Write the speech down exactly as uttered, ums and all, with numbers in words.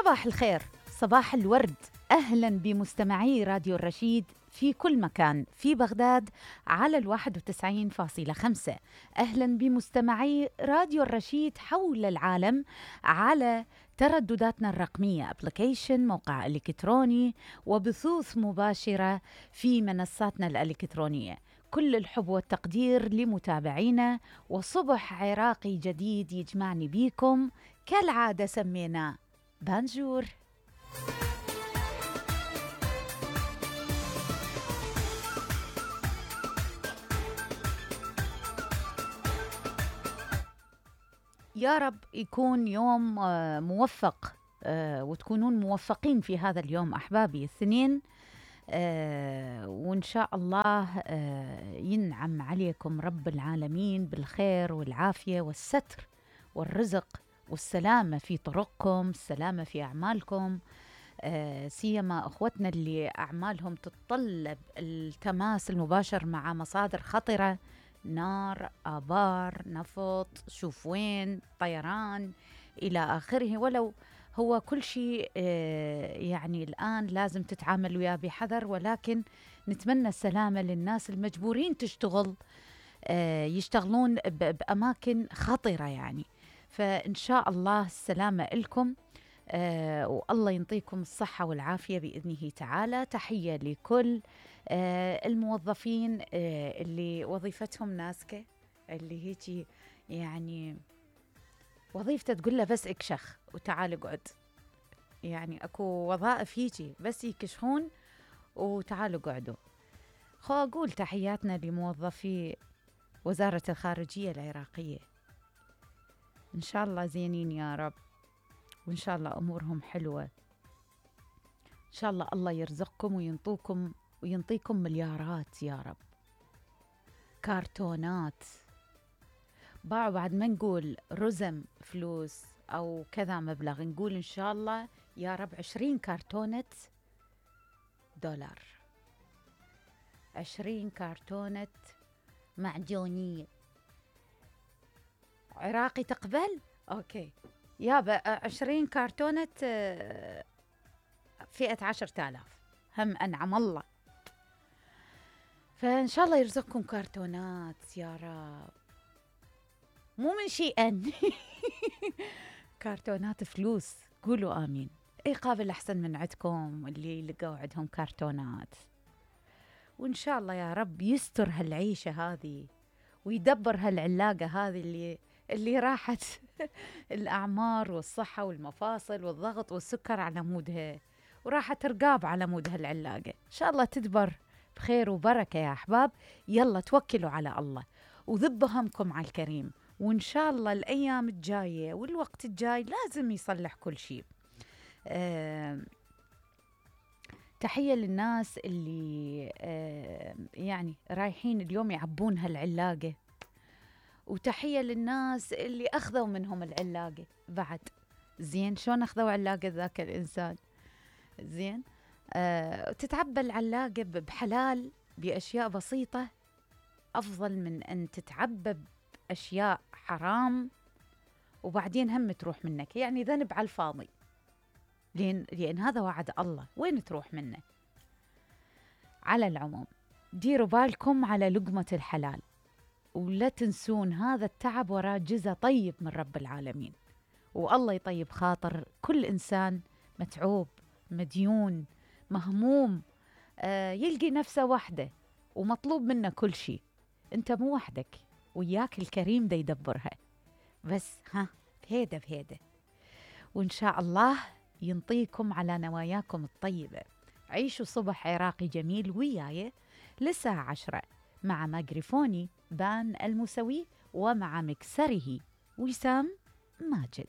صباح الخير، صباح الورد. أهلا بمستمعي راديو الرشيد في كل مكان، في بغداد على الواحد وتسعين فاصلة خمسة. أهلا بمستمعي راديو الرشيد حول العالم على تردداتنا الرقمية، أبليكيشن، موقع إلكتروني، وبثوث مباشرة في منصاتنا الإلكترونية. كل الحب والتقدير لمتابعينا، وصبح عراقي جديد يجمعني بيكم كالعادة سميناه بانجور. يا رب يكون يوم موفق وتكونون موفقين في هذا اليوم أحبابي الاثنين، وإن شاء الله ينعم عليكم رب العالمين بالخير والعافية والستر والرزق والسلامة في طرقكم، السلامة في أعمالكم، سيما أخوتنا اللي أعمالهم تتطلب التماس المباشر مع مصادر خطرة، نار، آبار، نفط، شوف وين، طيران إلى آخره. ولو هو كل شيء يعني الآن لازم تتعامل وياه بحذر، ولكن نتمنى السلامة للناس المجبورين تشتغل يشتغلون بأماكن خطرة يعني. فإن شاء الله السلامة لكم، آه والله ينطيكم الصحة والعافية بإذنه تعالى. تحية لكل آه الموظفين آه اللي وظيفتهم ناسكة، اللي هيجي يعني وظيفته تقول له بس اكشخ وتعال اقعد. يعني اكو وظائف هيجي بس يكشخون وتعالوا اقعدوا. خو اقول تحياتنا لموظفي وزارة الخارجية العراقية، إن شاء الله زينين يا رب، وإن شاء الله أمورهم حلوة. إن شاء الله الله يرزقكم وينطوكم وينطيكم مليارات يا رب، كارتونات. باعوا بعد ما نقول رزم فلوس أو كذا مبلغ، نقول إن شاء الله يا رب عشرين كارتونة دولار، عشرين كارتونة معجونية. عراقي تقبل؟ أوكي يابا عشرين كارتونة فئة عشرة آلاف، هم أنعم الله. فإن شاء الله يرزقكم كارتونات يا رب، مو من شيئا كارتونات فلوس، قولوا آمين. إيه قابل أحسن من عندكم اللي لقوا عندهم كارتونات. وإن شاء الله يا رب يستر هالعيشة هذه ويدبر هالعلاقة هذه اللي اللي راحت الأعمار والصحة والمفاصل والضغط والسكر على مودها، وراحت رقاب على مود هالعلاقة. إن شاء الله تدبر بخير وبركة يا أحباب. يلا توكلوا على الله وذبوا همكم على الكريم، وإن شاء الله الأيام الجاية والوقت الجاي لازم يصلح كل شيء. أه تحية للناس اللي أه يعني رايحين اليوم يعبون هالعلاقة، وتحية للناس اللي أخذوا منهم العلاقة بعد. زين شلون أخذوا علاقة ذاك الإنسان؟ زين آه، تتعبى العلاقة بحلال بأشياء بسيطة أفضل من أن تتعبى بأشياء حرام وبعدين هم تروح منك، يعني ذنب على الفاضي، لأن, لأن هذا وعد الله، وين تروح منه؟ على العموم ديروا بالكم على لقمة الحلال، ولا تنسون هذا التعب وراء جزء طيب من رب العالمين. والله يطيب خاطر كل إنسان متعوب مديون مهموم، آه يلقي نفسه وحده ومطلوب منه كل شيء. انت مو وحدك، وياك الكريم دا يدبرها، بس ها بهيدا بهيدا. وإن شاء الله ينطيكم على نواياكم الطيبة. عيشوا صبح عراقي جميل وياي للساعة عشرة مع مايكروفوني بان الموسوي، ومع مكسره وسام ماجد.